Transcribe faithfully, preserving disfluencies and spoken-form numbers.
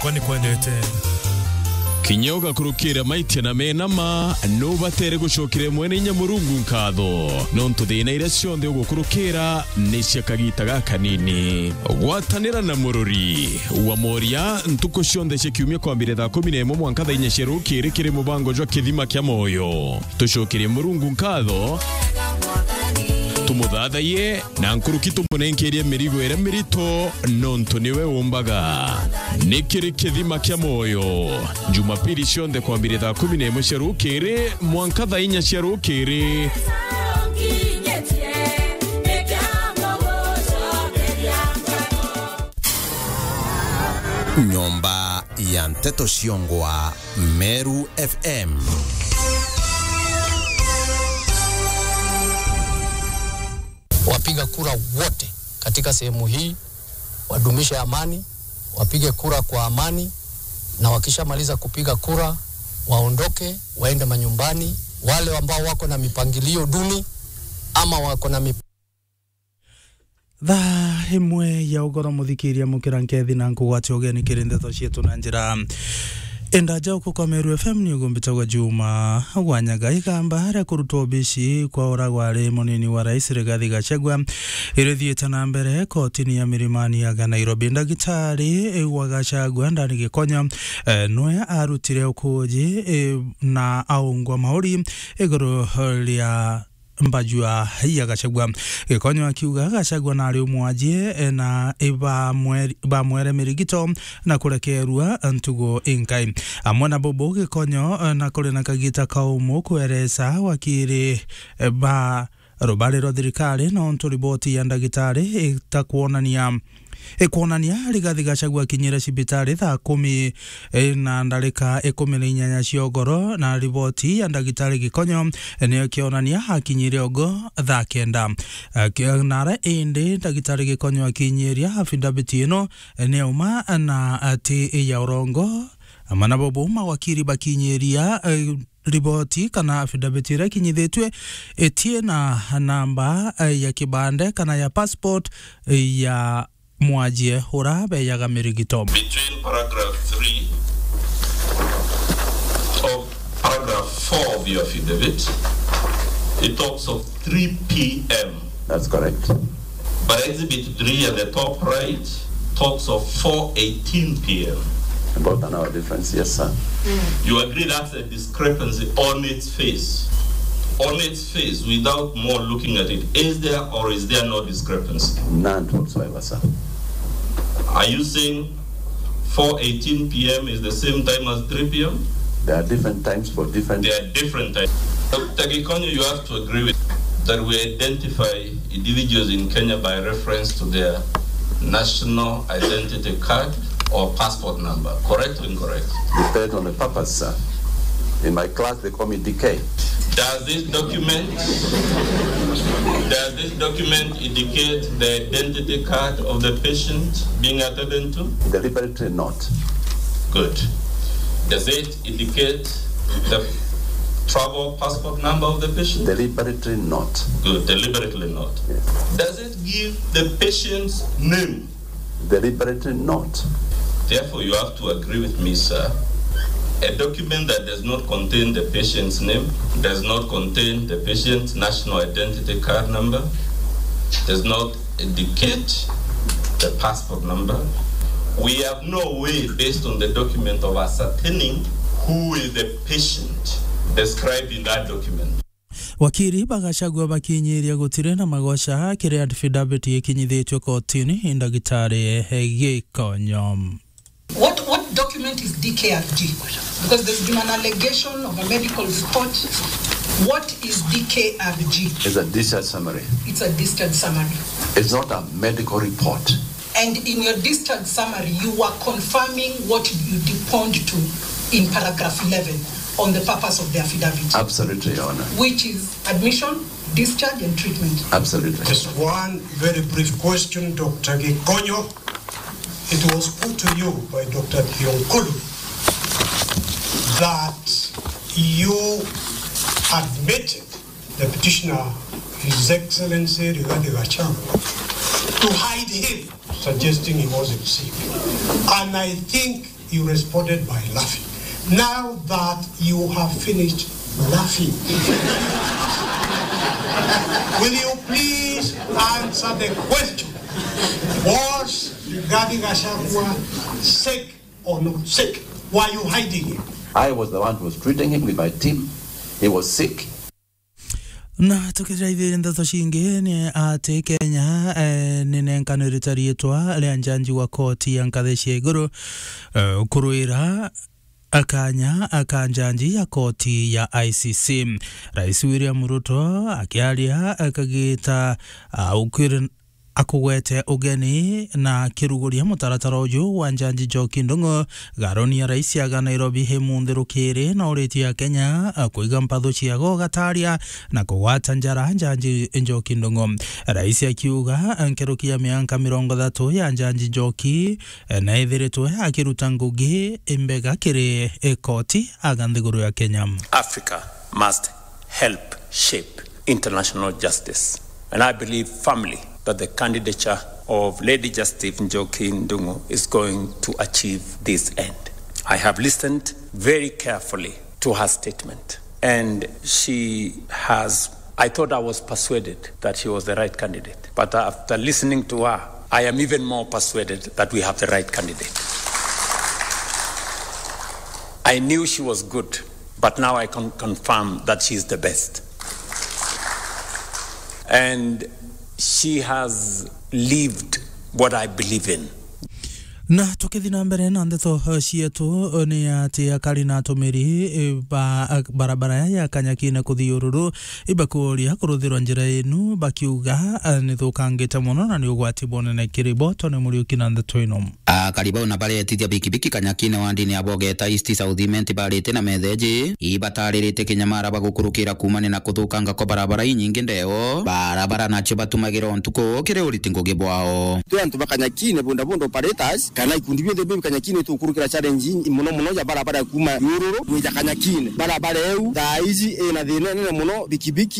Kwani kwendete. Kinya ugakurukira maitia na mena ma, nubatere gucokera mwene inya Murungu nkatho, nontu thina iria cionthe ugukurukira ni cia kagita gakanini. Gwatanira na Mururi wa Moria ntuku cionthe cia kiumia kwambire thaa kumi na imwe mwanka thaa inya cia rukiri kiri mubango jwa Kithima kia Moyo. Tucokerie Murungu nkatho, tumuthathaiye, na nkuruki tumunenkerie mirigo iria mirito, nontu niwe umbaga. Ni kiri Kithima kia Moyo, Jumapili cionthe kwambire thaa kumi na imwe cia rukiri mwanka thaa inya cia rukiri. Nyomba ya nteto ciongwa Meru F M. Wapiga kura wote katika sehemu hii wadumishe amani, wapige kura kwa amani, na wakishamaliza kupiga kura, waondoke, waende manyumbani. Wale ambao wako na mipangilio duni ama wako na mip- Thaa imwe ya ugoro, muthikiria, mukira nkethi na nkugwatia ugeni kiri ndeto cietu na njira indaja uku kwa Meru F M. Ni ugumbitagwa Juma Wanyaga. Igamba ria kurutwa obici kwa ura gwari munini wa rais Rigathi Gachagua irithiite na mbere kotini ya Milimani ya Nairobi. Ndagitari wa Gachagua, Ndani Gikonyo, eh, nwe arutire ukuji, eh, na aungwa mauri iguru ria mbajua ya Gachagua. Gikonyo akiuga Gachagua nari umwajie, eh, na ibamweri-, bamwere mirigito na kurekerua ntugo inkai. Amwe na bubu Gikonyo, eh, na kuri na kagita kaumu kweresa wakiri, eh, ba rubari rwa thirikari, nontu riboti ya ndagitari itakwonania Ikwonania Rigathi Gachagua akinyire cibitari thaa kumi, eh, na ndarika ikumi na inyanya cia ugoro, na riboti ya ndagitari Gikonyo, eh, niyo ikionania akinyire ogo thaa kenda. Eh, ki-, nara indi ndagitari Gikonyo akinyiria affidavit ino, eh, ni auma na ati ya urongo. Amwe na bubu mawakiri bakinyiria, eh, riboti kana affidavit iria ikinyithitue itie na namba, eh, ya kibande kana ya passport, eh, ya mwajie ura beyaga mirigito. Between paragraph three of paragraph four of your affidavit, it talks of three p m. That's correct. But exhibit three at the top right talks of four eighteen p m. About an hour difference, yes, sir. You agree that's a discrepancy on its face? On its face, without more looking at it, is there or is there no discrepancy? None whatsoever, sir. Are you saying four eighteen p m is the same time as three p m? There are different times for different There are different times. Doctor Gikonyo, you have to agree with that we identify individuals in Kenya by reference to their national identity card or passport number. Correct or incorrect? Depends on the purpose, sir. In my class, they call me D K. Does this document, does this document indicate the identity card of the patient being attended to? Deliberately not. Good. Does it indicate the travel passport number of the patient? Deliberately not. Good, deliberately not. Yes. Does it give the patient's name? Deliberately not. Therefore, you have to agree with me, sir. A document that does not contain the patient's name, does not contain the patient's national identity card number, does not indicate the passport number. We have no way, based on the document, of ascertaining who is the patient described in that document. Wakiri ba Gachagua bakinyiria gutiri na magoca kiri affidavit ikinyithitue kotini i ndagitari Gikonyo. What, what document is D K R G? Because there's been an allegation of a medical report. What is D K R G? It's a discharge summary. It's a discharge summary. It's not a medical report. And in your discharge summary, you were confirming what you deponed to in paragraph eleven on the purpose of the affidavit. Absolutely, Your Honor. Which is admission, discharge, and treatment. Absolutely. Just one very brief question, Doctor Gikonyo. It was put to you by Doctor Thiong'o that you admitted the petitioner, His Excellency Rigathi Gachagua, to hide him, suggesting he wasn't sick. And I think You responded by laughing. Now that you have finished laughing, will you please answer the question? Was Rigathi Gachagua sick or not sick? Were you hiding it? I was the one who was treating him with my team. He was sick. Na tukithira ithiiri ndeto cingi ni ati Kenya, eh, ni nenkanirite riitwa ria njanji wa koti ya nkathi cia iguru, eh, kurwira akanya aka njanji ya koti ya I C C. Rais William Ruto akiaria akagita, ah, ukwiri-, akugwete ugeni na akiruguria mutaratara uju wa njanji Njoki Ndung'u. Garoni ya rais aga Nairobi imunthi rukiri na uritie Akenya, a, kuiga mpathu ciago gataria na kugwata njara njanji Njoki Ndung'u. Rais akiuga, a, nkuruki ya mianka mirongo ithatu ya njanji Njoki, e, na ethiritwe akiruta ngugi imbega kiri, e, koti aga nthiguru ya Kenya. Africa must help shape international justice. And I believe firmly that the candidature of Lady Justice Njoki Ndung'u is going to achieve this end. I have listened very carefully to her statement, and she has, I thought I was persuaded that she was the right candidate, but after listening to her, I am even more persuaded that we have the right candidate. I knew she was good, but now I can confirm that she is the best. And she has lived what I believe in. Na tukithi na mbere na ndeto, eh, cietu, eh, ni ati akari na atumiri, eh, ba, eh, barabara ya Kanyakine kuthi Ururu, ibakuria kuruthirwa njira inu, bakiuga, eh, ni thukangite mono na ni ugwati bunene kiri bo. Tony Muriuki na ndeto ino. Akari bau na baretithia bikibiki Kanyakine wandini ya Bogeta East South Imenti barite na metheji ibataririte kinyamara bagukurukira kumania na kuthukanga kwa barabara inyingi ndeo. Barabara nacio batumagira ntuku kiri uriti ngugi bwao. Twi antu ba Kanyakine bodaboda operators kana ikundi bionthe bi Kanyakine tukurukira challenge mono mono ya barabara ya kuma Nyururu gwija Kanyakine. Barabara eu thaa iji ina thina inene mono, bikibiki